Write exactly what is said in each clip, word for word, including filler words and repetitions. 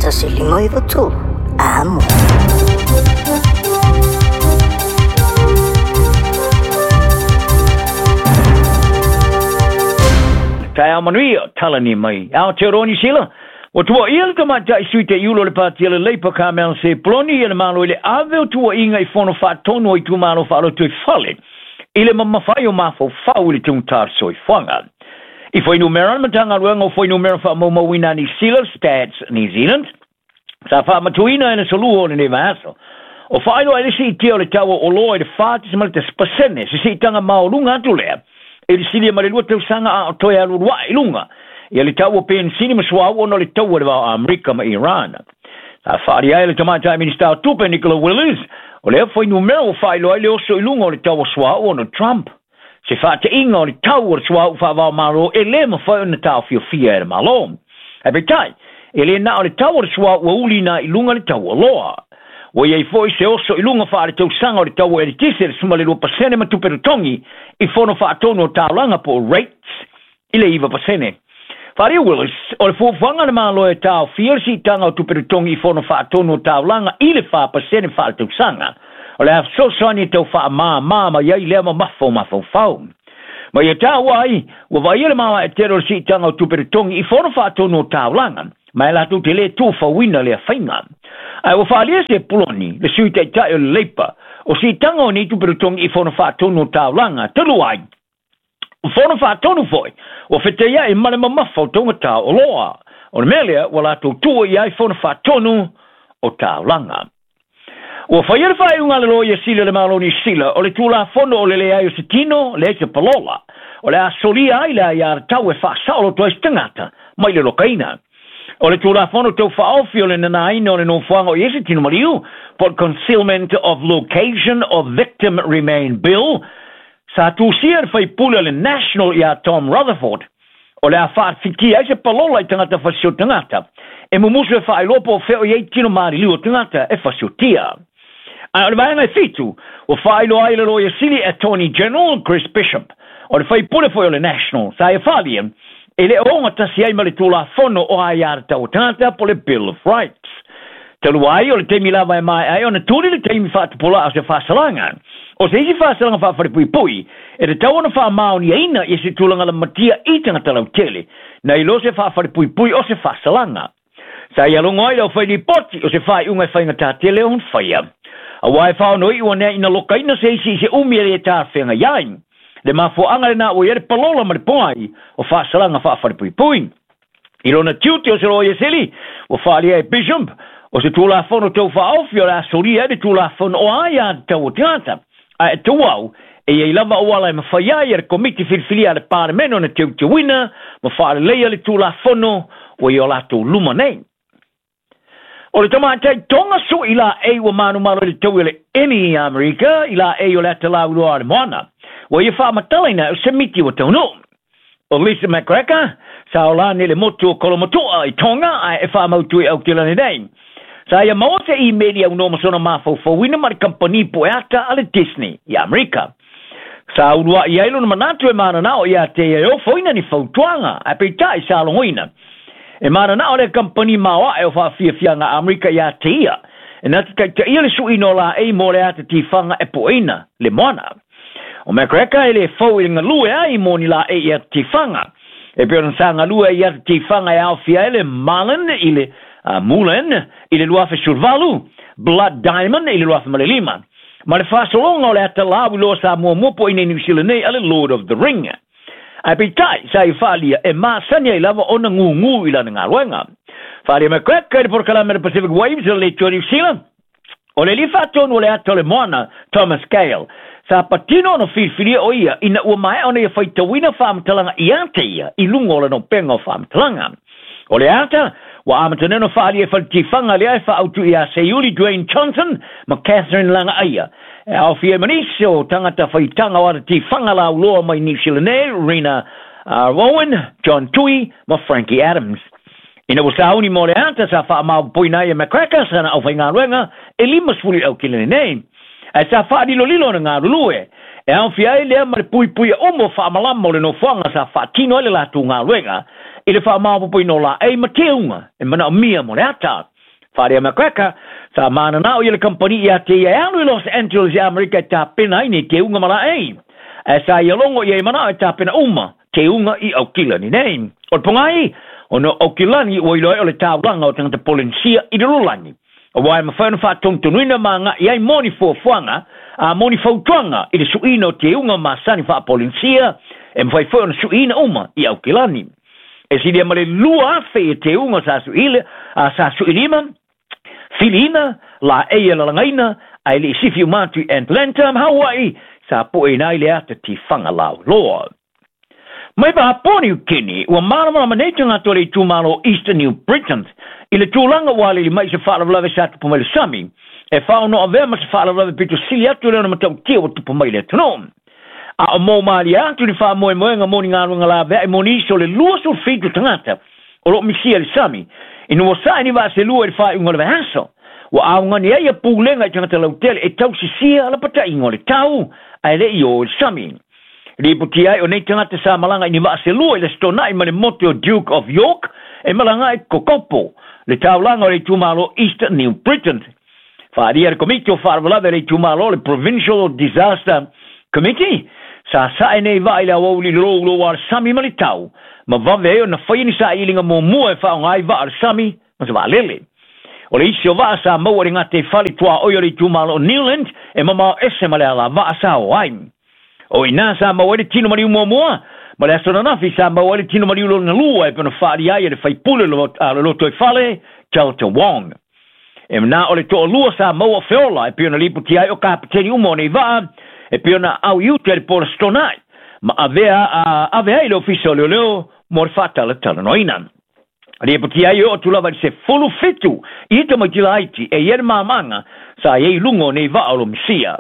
Tasi lima iwa tolu. Amo. Tae manuia, talani mai. Aotearoa Niu Sila. Ua tuuaia le tamaitai sui taiulo o le pati a le Leipa Carmel Sepuloni ia le Malo i le ave o tuuaiga i fono faatonu o itumalo faalotoifale i le mamafai o mafaufau i le tugata o le soifuaga. I fuainumera le Matagaluega o Fuainumera Faamaumauina a Niu Sila Stats New Zealand sa faamatuina e le solua o lenei vaiaso. O faailoa ai le siitia o le tau o oloa i le fa tesimale tasi pasene se siitaga maoluga atu lea e le silia ma le lua tausaga a o toe alualuaʻi i luga ia le tau o penisini ma suauu ona o le taua i le va o Amerika ma Iran. Sa faaalia ai le tamaitai Minista o Tupe Nicola Willis o lea fuainumera ua faailoa ai le oso i luga o le tau o suauu ona o Trump. Se faateiga o le tau o le suauu faavaomalo e lē mafai ona taofiofia e le Malo. Ae peitai, e lē na o le tau o le suauu ua uliina i luga le tau o oloa. Ua iai foi se oso i luga faaletausaga o le tau o eletise le suma le lua pasene ma tupe totogi i fono faatonu o taulaga po o rates i le iva pasene. Faaalia Willis o le fuafuaga a le Malo e taofia le siitaga o tupe totogi i fono faatonu o taulaga i le fa pasene faaletausaga. O le a fesoasoani e tau faamāmā mai ai lea mamafa o mafaufau. Ma ia taua ai, ua vaaia le maoae tele o le siitaga o tupe totogi i fono faatonu o taulaga, ma e latou te lē tufauina lea faiga. Ae ua faaalia Sepuloni, le sui taitai o le Leipa, o siitaga o nei tupe totogi i fono faatonu o taulaga, talu ai. O fono faatonu foi, ua feteiai ma le mamafa o taugata o oloa. O le mea lea, ua latou tuua i ai fono faatonu o taulaga. Ua faia le faaiuga a le Loia Sili o le Malo o Niu Sila o le Tulafono o le leai o se tino, leai se palola. O le a solia ai le aiatatau e faasaoloto ai se tagata mai le lokaina. O le Tulafono tau faaofi o le nanaina o le nofoaga o i ai se tino maliu, po o le Concealment of Location of Victim Remain Bill, sa tusia e le faipule o le National ia Tom Rutherford, o le a faafitia ai se palola i tagata fasio tagata e mumusu e faailoa po o fea o i ai tino maliliu o tagata e fasiotia. Ae o le vaega e fitu, ua faailoa ai le Loia Sili Attorney General Chris Bishop, o le faipule foi o le National, sa ia faaalia e le o ogatasi ai ma le Tulafono o Aiatatau o Tagata po o le Bill of Rights. Talu ai o le taimi lava e maea ai ona tuli le taimi faatupula'a o se faasalaga. O se isi faasalaga faafalepuipui e tatau ona faamaoniaina ia se tulaga lamatia i tagata lautele, nai lo se faafalepuipui o se faasalaga. Sa ia logo ai le aufai-lipoti o se faaiuga e faigata tele ona faia. Auā e faaonoiʻu anea ina lokaina se isi i se umi e lē talafeagai ai. Le mafuaaga lenā ua i ai le palola ma le poai o faasalaga faafalepuipui. I lona tiute o se loia sili, ua faaalia e Bishop o se Tulafono tau faaofi o le a solia ai le Tulafono o Aiatatau o Tagata. Ae tauau e iai lava auala e mafai ai e le Komiti Filifilia a le Palemene ona teuteuina ma faaleleia le Tulafono ua i o latou luma nei. O le tamaitai Tonga sui laei ua manumalo i le taui o le emi i Amerika i laei o le ata lauiloa a le moana. Ua ia faamatalaina o se miti ua taunuu. O Lisa McCracker sa olani le motu o Kolomotu'a i Tonga ae e faamautu i Aotearoa nei. Sa ia maua se imeli aunoa ma sona mafaufauina ma le kamupani pueata a le Disney i Amerika. Sa ulua'i ai lona manatu e mananao ia te ia e ofoina ni fautuaga ae peitai sa logoina. E mananao le kamupani maoaʻe o faafiafiaga a Amerika ia te ia e na te taitaia le suiina o laei mo le ata tifaga e pueina le moana. O McCracker e lē fou i le galue ai mo ni laei i ata tifaga. E pei ona sa galue ai i ata tifaga e aofia ai le Marlin i le uh, Mulan i le lua afe sefuluvalu, Blood Diamond i le lua afe ma le lima. Ma le faasologa o le ata lauiloa sa muamua po i nei Niu Sila nei a le Lord of the Ring. Ae peitai, sa ia faaalia e masani ai lava ona gūgū i lana galuega. Faaalia McCracker i le polokalame le Pacific Waves o le Leitoa Niu Sila, o le alii faatonu o le ata o le moana, Thomas Gale, sa patino ona filifilia o ia ina ua maea ona ia faitauina faamatalaga ia te ia i luga o lana upega o faamatalaga. O le ata, ua amata nei ona faaalia e faletifaga lea e faaautu ia Seiuli Dwayne Johnson ma Catherine Lagaaia. E aofia ai ma nisi o tagata faitaga o ata tifaga lauloa mai Niu Sila nei, Rena uh, Rowan, John Tui ma Frankie Adams. Ina ua sauni mo le ata sa faamaopopoina ai e McCracker sana aufaigaluega e limasefulu i le aukilani nei. Ae sa faalilolilo ona galulue. E aofia ai lea ma le puipuia uma o faamalama o le nofoaga sa faatino ai le latou galuega i le faamaopopoina o laei ma teuga e manaomia mo le ata. Whaarea McCracker, sa mananao i le kampani ia te ia alu i Los Angeles i Amerika e tāpena ai nei te unga mala ei. E sa ia longo ia i manao e tāpena uma te unga i Aukilani nei. O le pongai, o no Aukilani ua iloa o le tāulanga o tangata Polensia i le lolani. O wae mawhai ona whaatontonuina ma ngā iai moni fuafuaga, a moni fautuaga i le suiina o te unga masani faapolensia, e mawhai foi ona suiina uma i Aukilani. E silia ma le lua afe i te unga sa suile, a sa suilima, filina, la eia lalagaina, a e le isifi umatu i Atlanta ma Hawaii, sa poe nai le ata tifaga lauloa. Mai Papua New Guinea, ua malamalama nei tagata o le itumalo Eastern New Britain i le tulaga ua alili mai se faalavelave sa tupu mai le sami, e faaono avea ma se faalavelave pito sili atu le ona matautia ua tupu mai le atunuu. A o mo malia atu ni faamoemoega mo ni galuega laveai mo nisi o le luasefulufitu tagata o loo misia le sami, ina ua sae ni vaaselua i le faaiuga o le vaiaso. Ua augani ai ia pulega i tagata lautele e tausisia lapataiga o le tau ae le'i o i le sami. Lipoti ai o nei tagata sa malaga i ni vaaselua i le stonai ma le motu o Duke of York e malaga ai Kokopo, le taulaga o le itumalo East New Britain. Faaalia le komiti o faalavelave a le itumalo le Provincial Disaster Committee, sa sae nei vaa i le auauli louloua a le sami ma le tau, ma vave ai ona faia ni sailiga muamua e faaaoga ai vaa a le sami ma se vaalele. O le isi o vaa sa maua i le gataifale tuaoi o le itumalo o Newland e mamao ese ma le alavaa sa o ai. O ina sa maua ai le tino maliu muamua, ma le aso ananafi sa maua ai le tino maliu lona lua e pei ona faalia ai e le faipule le lotoifale Delta Wong. E na o le toalua sa maua feola e pei ona lipoti ai o kapeteni uma o nei vaa e pei ona au i uta i le pola stonai ma avea a ave ai le ofisa o leoleo mo le faatalatalanoaina. Lipoti ai o atu lava i le sefulufitu i tamaiti laiti e ia le mamaga sa i ai luga o nei vaa o lo misia.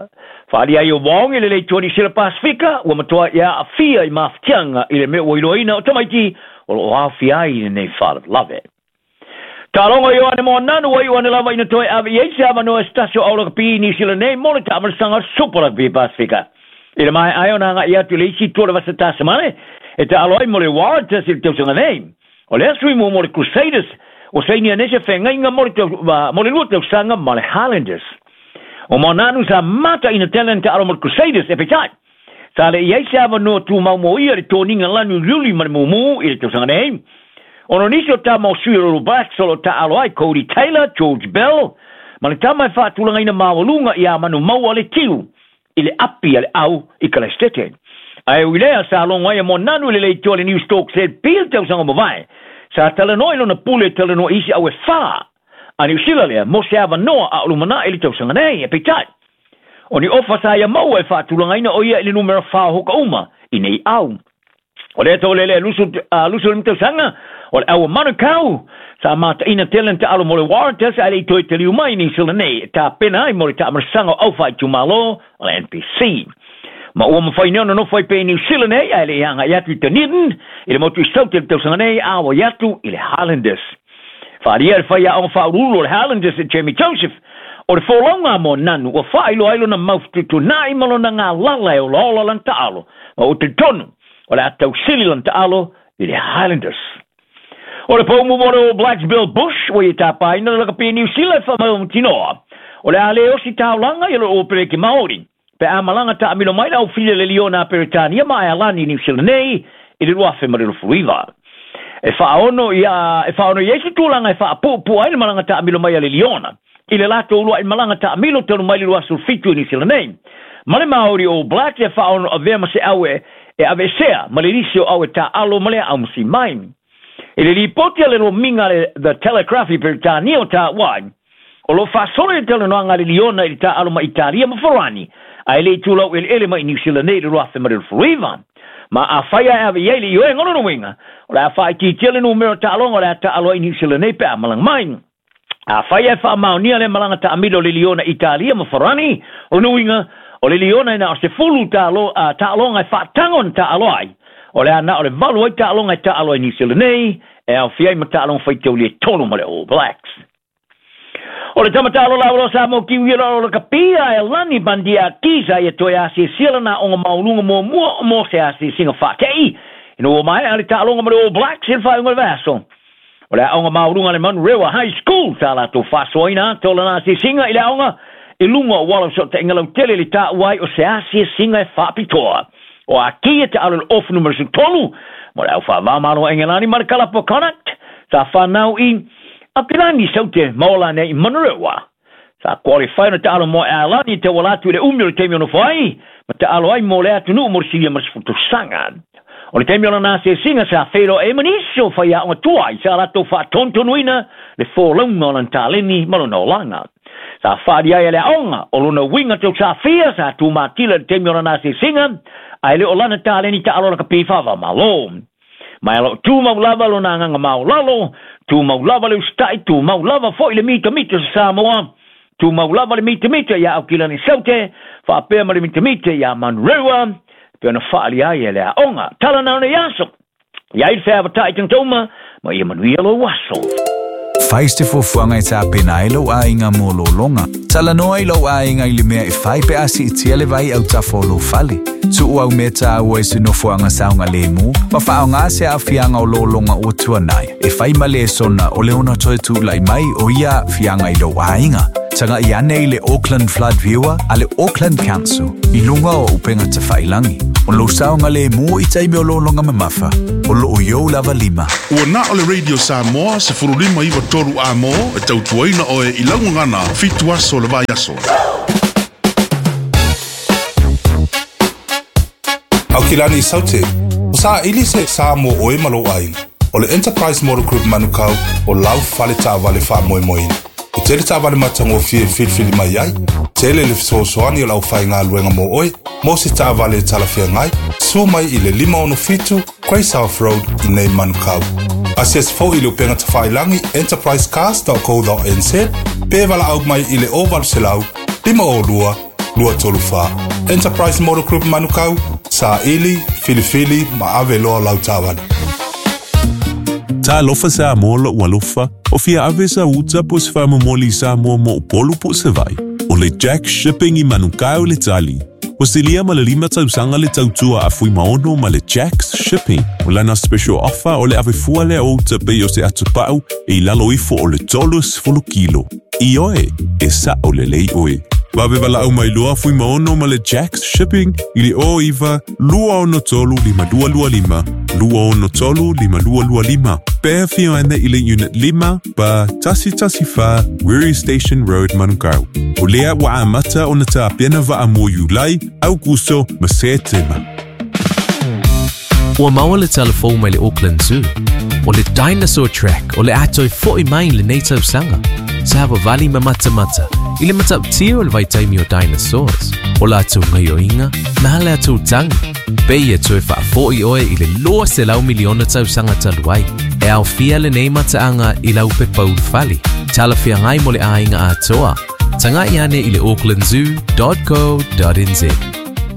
Faalia ai o Wong i le leitoa Niu Sila Pasifika ua matoa ia aafia i mafatiaga i le mea ua iloaina o tamaiti o loo aofia ai i lenei faalavelave. Taaloga Ioane Moananu ua iu ane lava ina toe ave i ai se avanoa e se tasi o aulakapi i Niu Sila nei mo le taamalasaga o le Super Rugby Pasifika. I le maeae ai ona aga'i atu i le isi tua o le vasa tasamane e taalo ai mo le Waratahs i le tausaga nei. O le aso i mua mo le Crusaders ua sainia nei se feagaiga mo le tau, mo le lua tausaga ma le Highlanders. O Moananu sa mataina tele na taalo mo le Crusaders e peitai. Sa le i ai se avanoa tumau mo ia le toniga lanu liuli ma le mumu i le tausaga nei. Ona o nisi o tama o sui o le Blacks o loo taalo ai Cody Taylor, George Bell, ma le tama e faatulagaina maualuga ia manu maua le tiu i le api a le au i Kalaestete. Ae ui lea sa logo ai a Moananu i le leitoa le New Storks Z P i le tausaga mavae. Sa talanoa i lona pule e talanoa i isi au e whā a Niu Sila lea mo se avanoa a o lumana'i i le tausaga nei e peitai. O ni ofa sa ia maua e faatulagaina o ia i le numera whā hoka uma i nei au. O lea taulele lusu, uh, lusu le tausaga o le au o Manukau sa mataina tele na taalo mo le Waratahs ae le i toe taliu mai i Niu Sila nei e tapena ai mo le taamalasaga o au faaitumalo o le N P C. Ma ua mawhai nei ona nofo ai pe i Niu Sila nei ae le i aga'i atu i Dunedin i le motu i Saute i le tausaga nei a ua i atu i le Highlanders. Faalia le faiaoga faauluulu o le Highlanders e Jamie Joseph o le folauga a Moananu ua faailoa ai lona maufututuna'i ma lona galala e olaola lana taalo ma ua talitonu o le a tausili lana taalo i le Highlanders. O le poumu mo le All Blacks Bill Bush ua ia tapaina le lakapi i Niu Sila e faamautinoa o le a le osi taulaga i le Opereki Maori. Pe a malaga taamilo mai le aufili le Liona a Peretania ma Aealani i Niu Sila nei i le luafe ma le luasefuluiva. E faaono ia e faaono i ai se tulaga e faapuupuu ai le malaga taamilo mai a le Liona i le latou lua'i malaga taamilo talu mai le luasefulufitu i Niu Sila nei. Ma le Maori All Blacks e faaono avea ma se au e e aveesea ma le lisi o au e taalo ma le aumasi mai. I le lipoti a le lomiga le The Telegraph i Peretania o Tāwai, o loo faasolo i le talanoaga a le Liona i le taalo ma Italia ma Farani, ae le i tulau eleele mai i Niu Sila nei i le luafe ma le luasefuluiva. Ma afai ae ave i ai le ioega o lona uiga, o le a faaitiitia le numera o taaloga o le a taalo ai i Niu Sila nei pe a malaga mai. Afai ae faamaonia le malaga taamilo o le Liona Italia ma Farani, o lona uiga, o le Liona e na o sefulu taalo, a, taaloga e faatago na taalo ai. O le a na o le valu ai taaloga e taalo ai i Niu Sila nei, e aofia ai ma taaloga faitauli e tolu ma le All Blacks. O le tamatalo laulo sa mo kiwi o le kapia e lani bandia kisa ia toe asiasia lana aoga maualuga muamua mo se asiasiga faatei. Ina ua maea le taaloga ma le All Blacks i le faaiuga o le vaiaso. O le aoga maualuga le Manurewa High School sa latou faasoaina ata o lana asiasiga i le aoga i luga o auala o fesootaiga lautele i le taua ai o se asiasiga e faapitoa. O Akia taalo i le ofu numera sefulutolu mo le au faavāmalo a Engelani ma le kalapu o Connacht sa fanau i Aupilani Saute ma ola nei i Manurewa. Sa qualify ona taalo mo Airlani e tauala atu i le umi o le taimi o nofo ai ma taalo ai mo le atunuu mo le silia ma le sefulu tausaga. O le taimi o lana asiasiga sa feiloai ai ma nisi o faiaoga tuai sa latou faatonutonuina le folauga o lana taleni ma lona olaga. Sa faaali ai e le aoga o lona uiga tausafia sa tumatila i le taimi o lana asiasiga ae le o lana taleni taalo lakapi faava-o-Malo. Ma e o loo tumau lava lona agaga maolalo, tumau lava le usitai, tumau lava foi le mitamita o Samoa, tumau lava le mitamita iā Aukilani Saute, faapea ma le mitamita iā Manurewa, e pei ona faaali ai e le aoga. Tala na o nei aso, i ai le feavatai tagata uma, ma ia manuia lou aso. Fai se fuafuaga e tapena ai lou aiga mo lologa. Talanoa i lou aiga i le mea e fai pe a siitia le vai autafa o lou fale. Tuu au mea taua i se nofoaga saogalemu ma faaaoga se aafiaga o lologa ua tuanai e fai ma lesona o le ono toe tulai mai o ia aafiaga i lou aiga. Tagai ane i le Auckland Flood Viewer a le Auckland Council i luga o upega tafailagi. O lou saogalemu i taimi o lologa mamafa. O loo i ou lava lima. Ua na o le Radio Samoa sefululima iva tolu Amo e tautuaina oe i laugagana fitu aso le vaiaso. Aukilani Saute, o saili se sa mo oe ma lou aiga. O le Enterprise Motor Group Manukau o lau fale taavale faamoemoeina. E tele taavale matagofie e filifili mai ai, tele le fesoasoani o le aufaigaluega mo oe, mo se taavale e talafeagai, sua mai i le lima ono fitu Grey South Road i nei Manukau. Asiasi foi i le upega tafailagi enterprise cars dot co dot n z pe valaau mai i le o valu selau lima o lua lua tolu fa. Enterprise Motor Group Manukau, saili, filifili ma ave loa lau taavale. Talofa Samoa lou alofa, o fia ave sa uta po se faamomoli i Samoa mo Upolu po o Savaii. O le Jack Shipping i Manukau le tali. Ua silia ma le lima tausaga le tautua a Fuimaono ma le Jack's Shipping. O lana special offer o le ave fua lea o uta pei o se atupau e i lalo ifo o le tolu sefulu kilo. Ioe, e sa'o lelei oe. Vave valaau mai loa Fuimaono ma le Jack's Shipping i le o iva lua ono tolu lima lua lua lima lua ono tolu lima lua lua lima. Pe afio ane i le unit lima pa tasi tasi fa Wiri Station Road Manukau. O lea ua amata ona tapena vaa mo Iulai, Aukuso ma Setema. Ua maua le talafou mai le Auckland Zoo. O le dinosaur track o le a toe fo'i mai lenei tausaga. Sa savavali ma matamata i le matautia o le vaitaimi o dinosaurs. O latou gaioiga ma le latou tagi. Pei e toe faafo'i oe i le lua selau miliona tausaga talu ai. E aofia lenei mataaga i lau pepa ulufale. Talafeagai mo le aiga atoa. Tagai ane i le auckland zoo dot co dot n z.